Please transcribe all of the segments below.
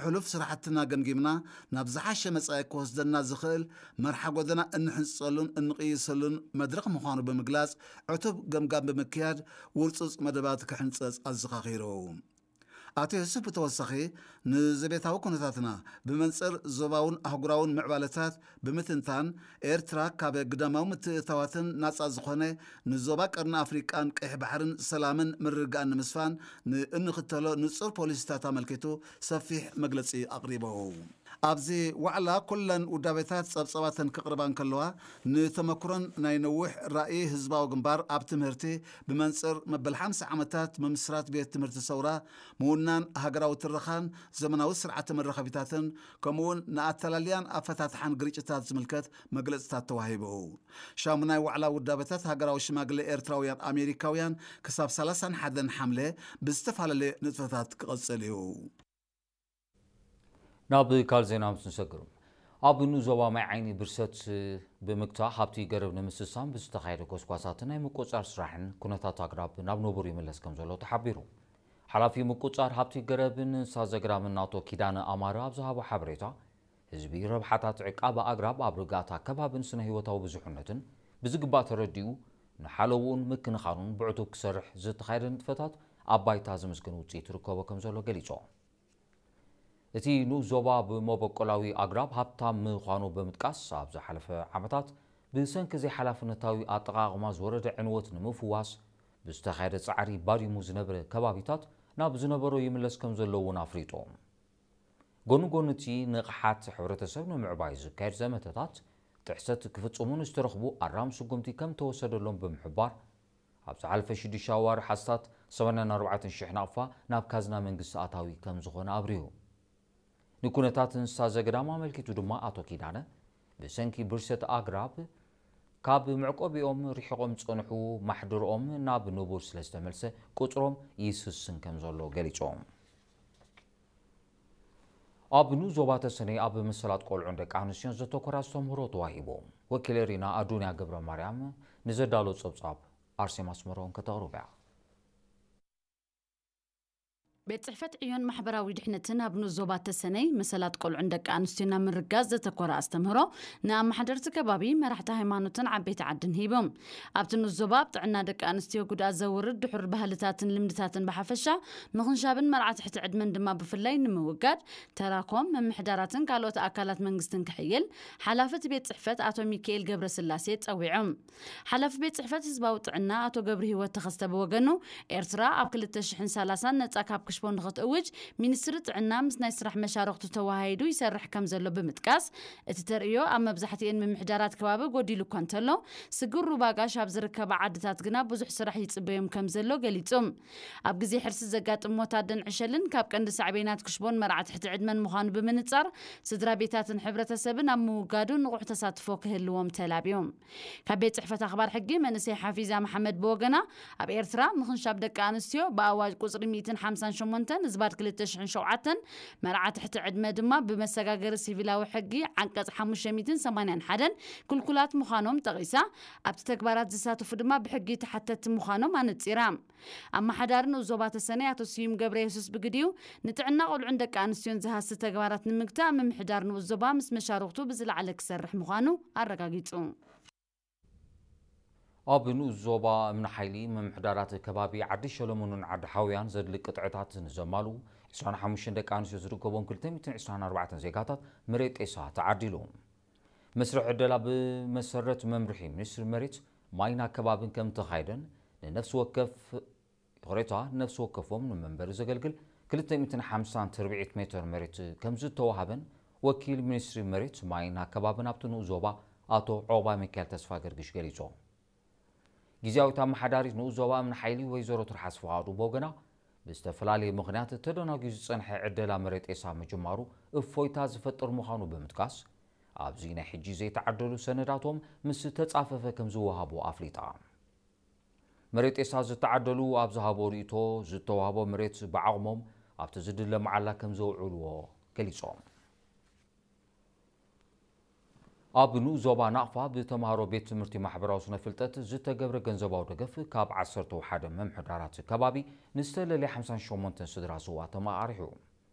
ሕሉፍ ስራሕትና ገምጊምና ናብ ዝሓሸ መጻኢ ክወስደና ዝኽእል መርሓ ጎደና እንሕንጸሉን እንቕይሰሉን መድረኽ ምዃኑ ብምግላጽ፣ ዕቱብ ገምጋም ብምክያድ ውርጹጽ መደባት ክሕንጸጽ ኣዘኻኺሩ። ኣቶ ዮሱፍ ብተወሳኺ ንዘቤታዊ ኩነታትና ብመንጽር ዞባውን ኣህጉራውን ምዕባለታት ብምትንታን፣ ኤርትራ ካብ ግዳማዊ ምትእትታዋትን ናጻ ዝኾነ ንዞባ ቀርኒ ኣፍሪቃን ቀይሕ ባሕርን ሰላምን ምርግጋእን ንምስፋን ንእንኽተሎ ንጹር ፖሊሲታት ኣመልኪቱ ሰፊሕ መግለጺ ኣቕሪቡ። ኣብዚ ዋዕላ ኩለን ውዳቤታት ጸብጸባተን ክቕርባ እንከለዋ፣ ንተመክሮን ናይ ነዊሕ ራእይ ህዝባዊ ግንባር ኣብ ትምህርቲ ብመንጽር መበል ሓምሳ ዓመታት ምምስራት ቤት ትምህርቲ ሰውራ፣ ምውናን ሃገራዊ ትረኻን ዘመናዊ ስርዓተ መራኸቢታትን፣ ከምኡውን ንኣተላልያን ኣፈታትሓን ግርጭታት ዝምልከት መግለጽታት ተዋሂቡ። ሻሙናይ ዋዕላ ውዳበታት ሃገራዊ ሽማግለ ኤርትራውያን ኣሜሪካውያን ክሳብ ሰላሳን ሓደን ሓምለ ብዝተፈላለየ ንጥፈታት ክቐጽል እዩ። ናብ ካልእ ዜና ምስ ንሰግር፣ ኣብ ንኡስ ዞባ ማይ ዓይኒ ብርሰት ብምግታእ ሃብቲ ገረብ ንምስሳን ብዝተኻየደ ጎስጓሳትን ናይ ምቁጽጻር ስራሕን ኩነታት ኣግራብ ናብ ንቡር ይምለስ ከም ዘሎ ተሓቢሩ። ሓላፊ ምቁጽጻር ሃብቲ ገረብን እንስሳ ዘግራምን ኣቶ ኪዳነ ኣማረ ኣብ ዝሃቦ ሓበሬታ፣ ህዝቢ ረብሓታት ዕቃበ ኣግራብ ኣብ ርግኣት ኣከባብን ስነ ህይወታዊ ብዙሕነትን ብዝግባእ ተረዲኡ፣ ንሓለውኡን ምክንኻኑን ብዕቱብ ክሰርሕ ዝተኻየደ ንጥፈታት ኣብ ባይታ ዝምስገን ውጽኢት ይርከቦ ከም ዘሎ ገሊጾም። እቲ ንኡስ ዞባ ብመበቆላዊ ኣግራብ ሃብታም ምዃኑ ብምጥቃስ፣ ኣብ ዝሓለፈ ዓመታት ብሰንኪ ዘይሓላፍነታዊ ኣጠቓቕማ ዝወረደ ዕንወት ንምፍዋስ ብዝተኻየደ ጻዕሪ ባዲሙ ዝነበረ ከባቢታት ናብ ዝነበሮ ይምለስ ከም ዘሎ እውን ኣፍሊጡ። ጎኒ ጎኒ እቲ ንቕሓት ሕብረተሰብ ንምዕባይ ዝካየድ ዘመተታት፣ ጥሕሰት ክፍጽሙ ንዝተረኽቡ ኣራሚ ስጉምቲ ከም ተወሰደሎም ብምሕባር፣ ኣብ ዝሓለፈ ሽዱሽተ ኣዋርሕ ኣስታት ሰማንያን ኣርባዕተን ሽሕ ናቕፋ ናብ ካዝና መንግስቲ ኣታዊ ከም ዝኾነ ኣብሪሁ። ንኩነታት እንስሳ ዘገዳም ኣመልኪቱ ድማ ኣቶ ኪዳነ፣ ብሰንኪ ብርሰት ኣግራብ ካብ መዕቆቢኦም ርሒቖም ዝጸንሑ ማሕደርኦም ናብ ንቡር ስለ ዝተመልሰ ቁጽሮም ይስስን ከም ዘሎ ገሊጾም። ኣብ ንኡስ ዞባ ተሰነይ ኣብ መሰላት ቆልዑን ደቂ ኣንስትዮን ዘተኮረ ኣስተምህሮ ተዋሂቡ። ወኪል ሪና ኣዱንያ ገብረ ማርያም ንዘዳሎ ጸብጻብ ኣርሴማ ኣስመሮም ከተቕርብ እያ። ቤት ጽሕፈት ዕዮን ማሕበራዊ ድሕነትን ኣብ ንኡስ ዞባ ተሰነይ መሰላት ቆልዑን ደቂ ኣንስትዮን ኣብ ምርጋጽ ዘተኮረ ኣስተምህሮ ንኣመሓደርቲ ከባቢ፣ መራሕቲ ሃይማኖትን ዓበይቲ ዓድን ሂቦም። ኣብቲ ንኡስ ዞባ ኣብ ጥዕና ደቂ ኣንስትዮ ጉድኣት ዘውርድ ድሑር ባህልታትን ልምድታትን ብሓፈሻ ምኽንሻብን መርዓ ትሕቲ ዕድመን ድማ ብፍላይ ንምውጋድ ተራኮም፣ ምምሕዳራትን ካልኦት ኣካላት መንግስትን ክሕይል ሓላፊ እቲ ቤት ጽሕፈት ኣቶ ሚካኤል ገብረስላሴ ጸዊዖም። ሓላፊ ቤት ጽሕፈት ህዝባዊ ጥዕና ኣቶ ገብረሂወት ተኸስተ ብወገኑ፣ ኤርትራ ኣብ ክልተ ሽሕን ሰላሳን ነጻ ካብ ክሽቦ ንኽትእውጅ ሚኒስትሪ ጥዕና ምስ ናይ ስራሕ መሻርኽቱ ተወሃሂዱ ይሰርሕ ከም ዘሎ ብምጥቃስ፣ እቲ ተርእዮ ኣብ መብዛሕትኤን ምምሕዳራት ከባቢ ጎዲሉ እኳ እንተሎ፣ ስግር ሩባ ጋሽ ኣብ ዝርከባ ዓድታት ግና ብዙሕ ስራሕ ይጽበዮም ከም ዘሎ ገሊጹ። ኣብ ግዜ ሕርሲ ዘጋጥም ሞት ኣደን ዕሸልን ካብ ቀንዲ ሳዕቤናት ክሽቦን መርዓ ትሕቲ ዕድመን ምዃኑ ብምንጻር፣ ስድራ ቤታትን ሕብረተሰብን ኣብ ምውጋዱ ንቑሕ ተሳትፎ ክህልዎም ተላብዮም። ካብ ቤት ጽሕፈት ኣኽባር ሕጊ መንእሰይ ሓፊዛ መሓመድ ብወገና፣ ኣብ ኤርትራ ምኽንሻብ ደቂ ኣንስትዮ ብኣዋጅ ቁጽሪ ሚእትን ሓምሳን ሸሞንተን ዝባድ ክልተ ሽሕን ሸውዓተን መርዓ ትሕቲ ዕድመ ድማ ብመሰጋገሪ ሲቪላዊ ሕጊ ዓንቀጽ ሓሙሽተ ሚእትን ሰማንያን ሓደን ክልኩላት ምዃኖም ጠቒሳ፣ ኣብቲ ተግባራት ዝሳተፉ ድማ ብሕጊ ተሓተትቲ ምዃኖም ኣነጺራ። ኣመሓዳሪ ንኡስ ዞባ ተሰነይ ኣቶ ስዩም ገብረ የሱስ ብግዲኡ፣ ንጥዕና ቆልዑን ደቂ ኣንስትዮን ዝሃሲ ተግባራት ንምግታእ ምምሕዳር ንኡስ ዞባ ምስ መሻርኽቱ ብዝለዓለ ክሰርሕ ምዃኑ ኣረጋጊጹ። ኣብ ንኡስ ዞባ እምኒ ሓይሊ ምምሕዳራት ከባቢ ዓዲ ሸለሞንን ዓዲ ሓውያን ዘድሊ ቅጥዕታት ንዘማልኡ ዕስራን ሓሙሽተን ደቂ ኣንስትዮ ዝርከቦም ክልተ ሚእትን ዕስራን ኣርባዕተን ዜጋታት መሬት ጤሳ ተዓዲሉ። መስርሕ ዕደላ ብመሰረት መምርሒ ሚኒስትሪ መሬት፣ ማይን ኣከባብን ከም ተኻየደን፣ ንነፍሲ ወከፍ ይቕሬታ፣ ነፍሲ ወከፎም ንመንበሪ ዘገልግል ክልተ ሚእትን ሓምሳን ትርብዒት ሜትር መሬት ከም ዝተዋሃበን ወኪል ሚኒስትሪ መሬት፣ ማይን ኣከባብን ኣብቲ ንኡስ ዞባ ኣቶ ዖባ ሚካኤል ተስፋ ገርግሽ ገሊጾም። ግዝያዊት ኣመሓዳሪት ንኡስ ዞባ እምኒ ሓይሊ ወይዘሮ ትርሓስ ፍቓዱ ብወገና፣ ብዝተፈላለየ ምኽንያት ተደናጉዩ ዝጸንሐ ዕደላ መሬት ጤሳ ምጅማሩ እፎይታ ዝፈጥር ምዃኑ ብምጥቃስ፣ ኣብዚ ናይ ሕጂ ዘይተዓደሉ ሰነዳቶም ምስ ተጻፈፈ ከም ዝወሃቡ ኣፍሊጣ። መሬት ጤሳ ዝተዓደሉ ኣብ ዝሃቦ ርእይቶ፣ ዝተዋህቦ መሬት ብዓቕሞም ኣብቲ ዝድለ መዓላ ከም ዘውዕልዎ ገሊጾም። ኣብ ንኡስ ዞባ ናቕፋ ብተምሃሮ ቤት ትምህርቲ ማሕበራዊ ስነ ፍልጠት ዝተገብረ ገንዘባዊ ደገፍ ካብ ዓሰርተ ሓደ ምምሕዳራት ከባቢ ንዝተለለየ ሓምሳን ሸሞንተን ስድራ ስውኣቶም ኣቓሪሑ።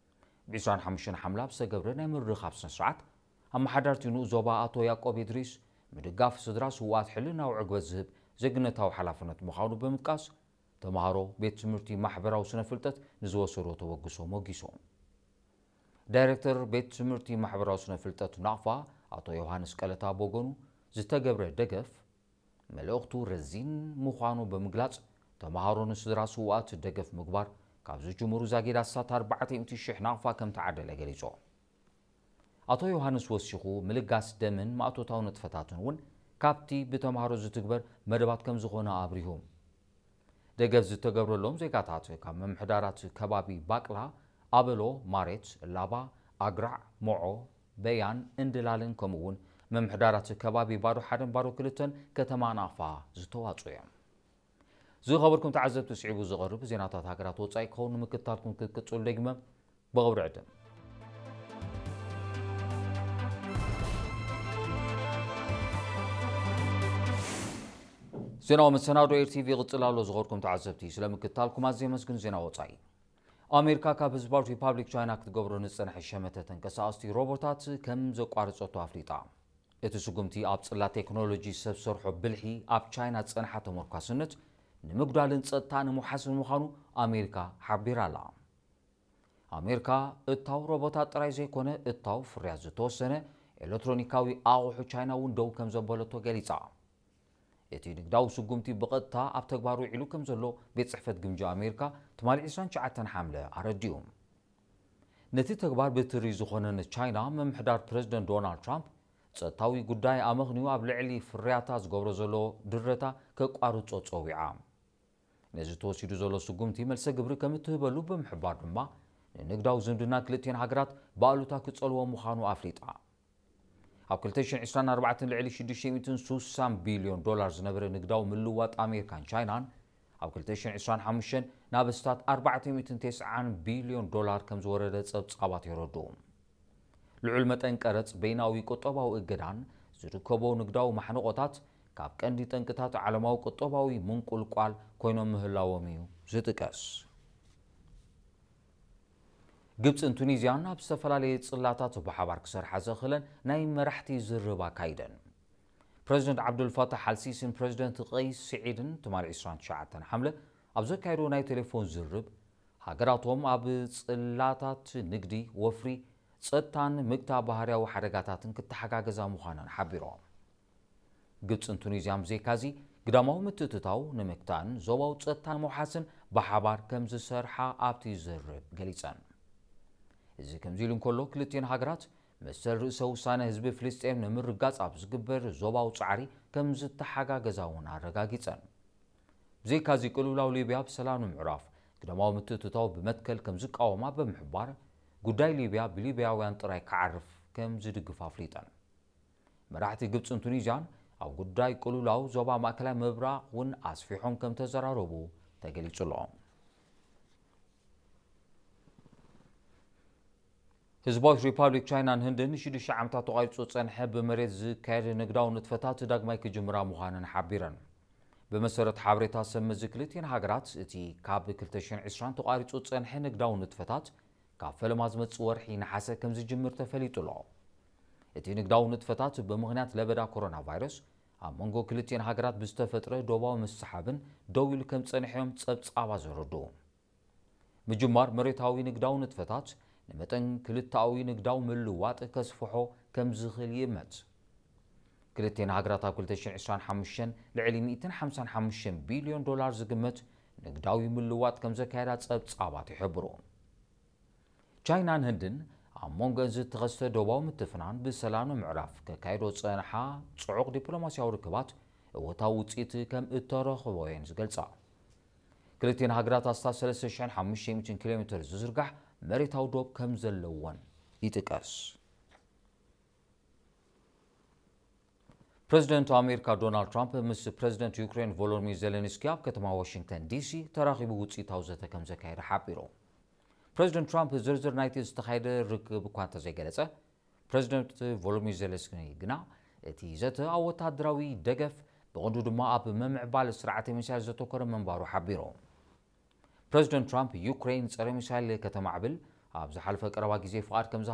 ብ ዕስራን ሓሙሽተን ሓምለ ኣብ ዝተገብረ ናይ ምርኻብ ስነ ስርዓት፣ ኣመሓዳርቲ ንኡስ ዞባ ኣቶ ያዕቆብ ኢድሪስ፣ ምድጋፍ ስድራ ስውኣት ሕልናዊ ዕግበት ዝህብ ዜግነታዊ ሓላፍነት ምዃኑ ብምጥቃስ፣ ተምሃሮ ቤት ትምህርቲ ማሕበራዊ ስነ ፍልጠት ንዝወሰዶ ተበግሶ ሞጊሶም። ዳይሬክተር ቤት ትምህርቲ ማሕበራዊ ስነ ፍልጠት ናቕፋ ኣቶ ዮሃንስ ቀለታ ብወገኑ፣ ዝተገብረ ደገፍ መልእኽቱ ረዚን ምዃኑ ብምግላጽ፣ ተምሃሮ ንስድራ ስውኣት ደገፍ ምግባር ካብ ዝጅምሩ ዛጊድ ኣስታት ኣርባዕተ ሚእቲ ሽሕ ናቕፋ ከም ተዓደለ ገሊጹ። ኣቶ ዮሃንስ ወሲኹ፣ ምልጋስ ደምን ማእቶታዊ ንጥፈታትን እውን ካብቲ ብተምሃሮ ዝትግበር መደባት ከም ዝኾነ ኣብሪሁ። ደገፍ ዝተገብረሎም ዜጋታት ካብ ምምሕዳራት ከባቢ ባቅላ፣ ኣበሎ፣ ማሬት፣ ላባ፣ ኣግራዕ፣ ሞዖ፣ በያን፣ እንድላልን ከምኡ እውን ምምሕዳራት ከባቢ ባዶ ሓደን ባዶ ክልተን ከተማ ናቕፋ ዝተዋፅኡ እዮም። ዝኸበርኩም ተዓዘብቲ፣ ስዒቡ ዝቐርብ ዜናታት ሃገራት ወፃኢ ክኸውን ንምክትታልኩም ክትቅፅሉ ደግመ ብኽብሪ ዕድም። ዜናዊ መሰናዶ ኤር ቲቪ ይቕጽል ኣሎ። ዝኸበርኩም ተዓዘብቲ፣ ስለምክትታልኩም ኣዝየ የመስግን። ዜና ወጻኢ። ኣሜሪካ ካብ ህዝባዊት ሪፓብሊክ ቻይና ክትገብሮ ንዝጸንሐ ሸመተ ተንቀሳቐስቲ ሮቦታት ከም ዘቋረጸቶ ኣፍሊጣ። እቲ ስጉምቲ ኣብ ጽላት ቴክኖሎጂ ሰብ ሰርሖ ብልሒ ኣብ ቻይና ዝጸንሓ ተመርኳስነት ንምጉዳልን ጸጥታ ንምውሓስን ምዃኑ ኣሜሪካ ሓቢራ ኣላ። ኣሜሪካ እታው ሮቦታት ጥራይ ዘይኮነ፣ እታው ፍርያት ዝተወሰነ ኤሌክትሮኒካዊ ኣቑሑ ቻይና እውን ደው ከም ዘበለቶ ገሊጻ። እቲ ንግዳዊ ስጉምቲ ብቐጥታ ኣብ ተግባር ውዒሉ ከም ዘሎ ቤት ጽሕፈት ግምጃ ኣሜሪካ ትማሊ ዕስራን ትሽዓተን ሓምለ ኣረዲኡ። ነቲ ተግባር ብትሪ ዝኾነ ንቻይና ምምሕዳር ፕረዚደንት ዶናልድ ትራምፕ ጸጥታዊ ጉዳይ ኣመኽንዩ ኣብ ልዕሊ ፍርያታ ዝገብሮ ዘሎ ድረታ ከቋርጾ ጸዊዓ። ነዚ ተወሲዱ ዘሎ ስጉምቲ መልሰ ግብሪ ከም እትህበሉ ብምሕባር ድማ፣ ንንግዳዊ ዝምድና ክልቲኤን ሃገራት ብኣሉታ ክጸልዎ ምዃኑ ኣፍሊጣ። ኣብ ክልተ ሽሕን ዕስራን ኣርባዕተን ልዕሊ ሽዱሽተ ሚእትን ስሳን ቢልዮን ዶላር ዝነበረ ንግዳዊ ምልውዋጥ ኣሜሪካን ቻይናን፣ ኣብ ክልተ ሽሕን ዕስራን ሓሙሽተን ናብ ኣስታት ኣርባዕተ ሚእትን ተስዓን ቢልዮን ዶላር ከም ዝወረደ ጸብጻባት የረድኡ። ልዑል መጠን ቀረጽ፣ በይናዊ ቁጠባዊ እገዳን ዝርከቦ ንግዳዊ ማሕንቖታት ካብ ቀንዲ ጠንቅታት ዓለማዊ ቁጠባዊ ምንቁልቋል ኮይኖም ምህላዎም እዩ ዝጥቀስ። ግብጽን ቱኒዝያን ኣብ ዝተፈላለየ ጽላታት ብሓባር ክሰርሓ ዘኽእለን ናይ መራሕቲ ዝርርብ ኣካይደን። ፕረዚደንት ዓብዱልፋታሕ ኣልሲሲን ፕረዚደንት ቀይስ ስዒድን ትማሊ ዕስራን ትሽዓተን ሓምለ ኣብ ዘካየዶ ናይ ቴሌፎን ዝርርብ፣ ሃገራቶም ኣብ ጽላታት ንግዲ፣ ወፍሪ፣ ጸጥታን ምግታ ባህርያዊ ሓደጋታትን ክተሓጋገዛ ምዃነን ሓቢሮም። ግብጽን ቱኒዝያን ብዘይካዚ፣ ግዳማዊ ምትእትታው ንምግታእን ዞባዊ ጸጥታ ንምውሓስን ብሓባር ከም ዝሰርሓ ኣብቲ ዝርርብ ገሊጸን። እዚ ከምዚ ኢሉ እንከሎ፣ ክልቲኤን ሃገራት መሰል ርእሰ ውሳነ ህዝቢ ፍልስጤም ንምርጋጽ ኣብ ዝግበር ዞባዊ ጻዕሪ ከም ዝተሓጋገዛ እውን ኣረጋጊጸን። ብዘይካዚ፣ ቅልውላው ሊብያ ብሰላም ንምዕራፍ ግዳማዊ ምትእትታው ብመትከል ከም ዝቃወማ ብምሕባር፣ ጉዳይ ሊብያ ብሊብያውያን ጥራይ ክዓርፍ ከም ዝድግፍ ኣፍሊጠን። መራሕቲ ግብጽን ቱኒዝያን ኣብ ጉዳይ ቅልውላው ዞባ ማእከላይ ምብራቕ እውን ኣስፊሖም ከም ተዘራረቡ ተገሊጹ ኣሎ። ህዝባዊት ሪፓብሊክ ቻይናን ህንድን ንሽዱሽተ ዓመታት ተቋሪጹ ዝጸንሐ ብመሬት ዝካየድ ንግዳዊ ንጥፈታት ዳግማይ ክጅምራ ምዃነን ሓቢረን። ብመሰረት ሓበሬታ ሰብ መዚ፣ ክልቲኤን ሃገራት እቲ ካብ ክልተ ሽሕን ዕስራን ተቋሪጹ ዝጸንሐ ንግዳዊ ንጥፈታት ካብ ፈለማ ዝመጽእ ወርሒ ነሓሰ ከም ዝጅምር ተፈሊጡ ኣሎ። እቲ ንግዳዊ ንጥፈታት ብምኽንያት ለበዳ ኮሮና ቫይረስ ኣብ መንጎ ክልቲኤን ሃገራት ብዝተፈጥረ ዶባዊ ምስሓብን ደው ኢሉ ከም ዝጸንሐ እዮም ጸብጻባት ዘረድኡ። ምጅማር መሬታዊ ንግዳዊ ንጥፈታት ንመጠን ክልተኣዊ ንግዳዊ ምልውዋጥ ከስፍሖ ከም ዝኽእል ይእመት። ክልቲኤን ሃገራት ኣብ ክልተ ሽሕን ዕስራን ሓሙሽተን ልዕሊ ሚእትን ሓምሳን ሓሙሽተን ቢልዮን ዶላር ዝግመት ንግዳዊ ምልውዋጥ ከም ዘካየዳ ጸብጻባት ይሕብሩ። ቻይናን ህንድን ኣብ መንጎ ዝተኸስተ ዶባዊ ምትፍናን ብሰላም ንምዕራፍ ከካየዶ ዝጸንሓ ጽዑቕ ዲፕሎማስያዊ ርክባት እወታዊ ውጽኢት ከም እተረኽቦ እየን ዝገልጻ። ክልቲኤን ሃገራት ኣስታት ሰለስተ ሽሕን ሓሙሽተ ሚእትን ኪሎ ሜትር ዝዝርጋሕ መሬታዊ ዶብ ከም ዘለወን ይጥቀስ። ፕረዚደንት ኣሜሪካ ዶናልድ ትራምፕ ምስ ፕረዚደንት ዩክሬን ቮሎዲሚር ዜሌንስኪ ኣብ ከተማ ዋሽንግተን ዲሲ ተራኺቡ ውጽኢታዊ ዘተ ከም ዘካየደ ሓቢሩ። ፕረዚደንት ትራምፕ ዝርዝር ናይቲ ዝተኻየደ ርክብ እኳ እንተዘይገለጸ፣ ፕረዚደንት ቮሎዲሚር ዜሌንስኪ ግና እቲ ዘተ ኣብ ወታደራዊ ደገፍ፣ ብቐንዱ ድማ ኣብ ምምዕባል ስርዓተ ሚሳይል ዘተኮረ ምንባሩ ሓቢሩ። ፕረዚደንት ትራምፕ ዩክሬን ጸረ ሚሳይል ከተማዕብል፣ ኣብ ዝሓለፈ ቀረባ ግዜ ፍቓድ ከም